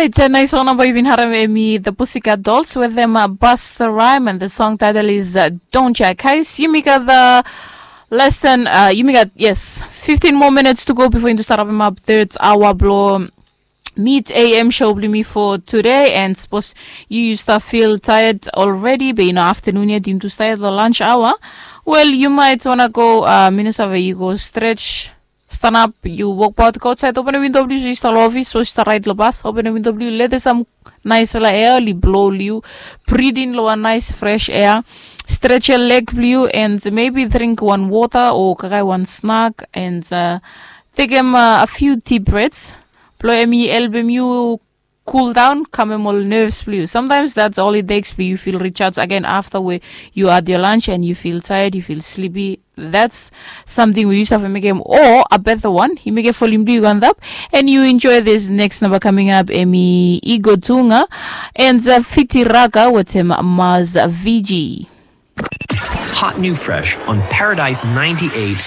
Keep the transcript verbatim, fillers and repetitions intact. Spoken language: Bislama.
It's a nice one namba yu bin harem emi the Pussycat Dolls with them uh, Busta Rhyme and the song title is uh, Don't Ya Guys. Yumi gat the less than uh, yumi gat yes fifteen more minutes to go before yumi start up third hour blo mid A M show blo mi for today and suppose you you start feel tired already but you know afternoon yet yumi to start the lunch hour. Well, you might wanna go uh, Minnesota, you go stretch stanap, yu wokbaot go ausait, openem windo blo yu, yu stap lo ofis o yu stap raet lo bas, openem windo blo yu, letem sam naesfala ea oli blo lo yu, bridin lo wan naes fres ea, stretch leg blo yu and maybe drink wan wota o kakae wan snak and uh, tekem uh, a few deep breaths blo em i helpem yu cool down, kamem ol nerves blo yu. Sometimes that's all it takes blo yu feel recharge again after where you had your lunch and you feel tired, you feel sleepy. That's something we used to have mekem or a better one. You make a volume blo yu go on top and you enjoy this next number coming up. Emi Igo Tunga and uh, Fiti Raka with him Maz Viji. Hot new fresh on Paradise ninety-eight